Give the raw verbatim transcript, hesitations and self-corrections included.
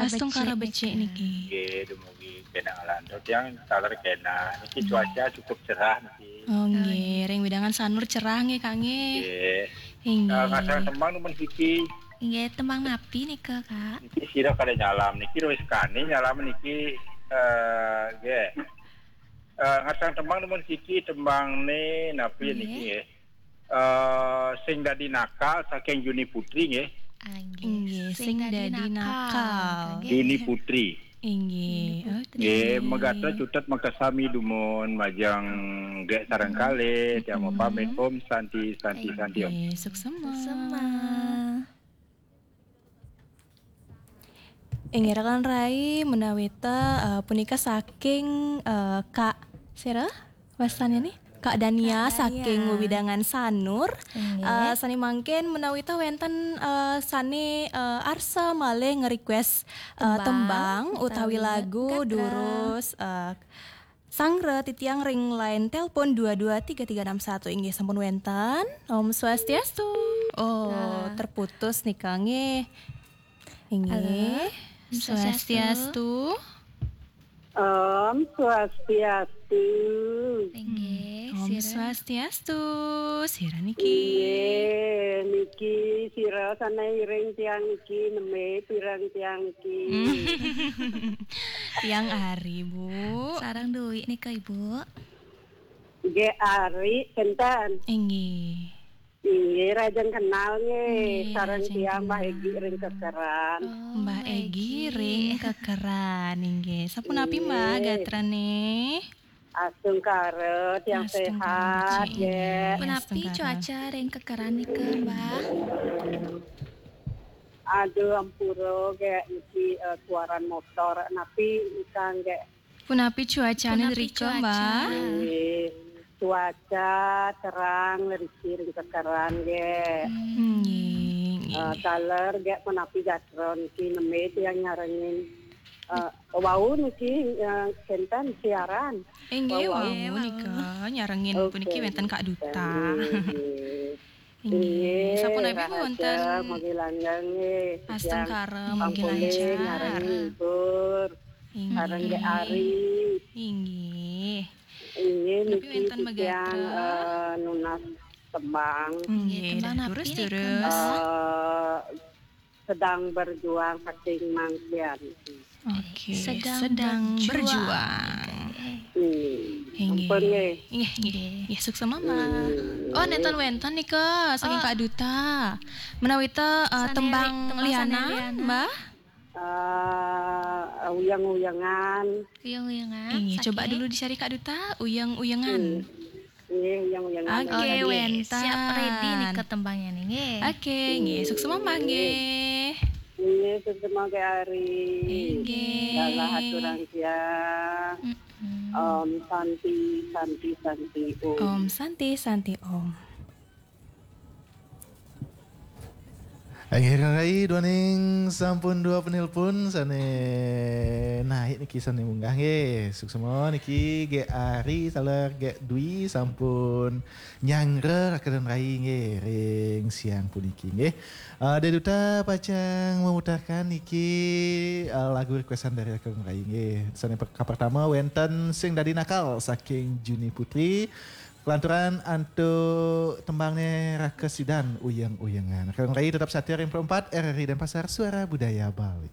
Astungkara becik niki. Nggih, dumugi kena ngelantur. Tiang taler kena. Niki cuaca cukup cerah niki. Oh, nggih. Ring wewidangan Sanur cerah nggih, Kak, nggih. Nggih. Inggih. Eh, ngasang tembang numun siki. Inggih, tembang napi nika, Kak? Niki sira kada nyalam. Niki wis kani nyalam niki, eh, nggih. Eh, ngasang tembang numun siki, tembang ni napi niki nggih. Eh, Sing Dadi Nakal saking Juni Putri nggih. Ah, nggih. Inggih, Sing Dadi Nakal. Juni Putri. Inggih. Juni Putri. Nggih, megatra cutet makasami dumun majeng Gek sareng kalih, tiang mapamit. Om Santi, Santi, Santi, Om. Inggih, suksema. Suksema. Inggih, rakan rai, menawi ta, eh, punika saking, eh, Kak sira wastannya nih? Kak Dania. Kak Dania saking wewidangan Sanur. Inggih. Eh, sane mangkin menawi ta wenten, eh, sane, eh, arsa malih nge-request, eh, tembang, tembang utawi utawi lagu gatra. Durus, eh, sanggra titiang ring line telepon dua dua tiga tiga enam satu inggih sampun wenten. Om Swastiastu. Oh, nah. Terputus nih, Kang, nggih. Inggih. Halo. Om Swastiastu. Swastiastu. Om Swastiastu. Inggih, Om sira. Swastiastu. Sira niki. Inggih, niki sira sane iring tiang niki, neme pirang tiang niki. Hmm. Tiang Ari, Bu. Sareng Dwi nika, Ibu. Nggih, Ari, sinten? Inggih. Inggih, rajin kenal nggih. Nggih, sareng rajin tiang Mbah kenal. Egi ring Kekeran. Oh, Mbah Egi Egi ring Kekeran, inggih. Sapunapi, Mbah, nggih. Gatrane? Astungkara, tiang astungkara, sehat, becik, nggih. Inggih. Punapi astungkara. Cuaca ring Kekeran nika, Mbah? Aduh, ampura, nggih, niki, eh, suaran motor. Napi nika, nggih? Punapi cuacane punapi rika, cuaca? Mbah? Nggih, cuaca terang, riki ring Kekeran, nggih. Hmm. Nggih, nggih, eh, nggih. Taler, nggih, punapi gatra niki neme tiang nyarengin. Eh, wau niki, eh, sinten siaran. Inggih, wau, wau, wau. Nika nyarengin. Oke. Puniki wenten Kak Duta. Nggih, nggih. Inggih, inggih, sapunapi rahasia, wonten? Mugi langgeng, nggih. Astungkara, mugi lancar. Ampun, nyarengin hibur. Inggih. Sareng Dek Ari. Inggih. Inggih, punapi niki wenten titiang, megatra? Eh, nunas tembang. Inggih, nggih, tembang dah napi turus, nika, turus. Mbah? Eh, Sedang Berjuang saking Mangkian. Oke, sedang, sedang berjuang. Berjuang. Hmm. Inggih. Ampun, nggih. Inggih, inggih. Inggih, suksema, Mbah. Hmm. Oh, nenten wenten nika, saking, oh, Kak Duta. Menawi ta, eh, sane tembang ri-, tembang sane liana, liana. Mbah? Eh, uyang-uyangan. Uyang-uyangan, inggih, coba saking dulu dicari Kak Duta, uyang-uyangan. Hmm. Nggih, uyang-uyangan. Oke, oh, nggih, wenten. Siap ready nika tembangnya nih, nggih. Oke, nggih. Suksema, Mbah, nggih. Nggih, suksema Kak Ari. Inggih. Dalah aturang siang. Mm-mm. Om Santi, Santi, Santi, Om. Om Santi, Santi, Om. Inggih, Kang Rai, duaning sampun dua penelpon sane naik niki sane munggah nggih. Suksema niki Gek Ari, taler Gek Dwi sampun nyanggra rakedan rai nggih ring siang puniki nggih. Eh, Dek Duta pacang memutarkan niki, eh, lagu requestan dari rakedan rai nggih. Sane per-, kapertama wenten Sing Dadi Nakal saking Juni Putri. Kelanturan antuk tembangne Raka Sidan, Uyeng-uyengan. Kang Rai tetap setia ring empat R R I Denpasar, Suara Budaya Bali.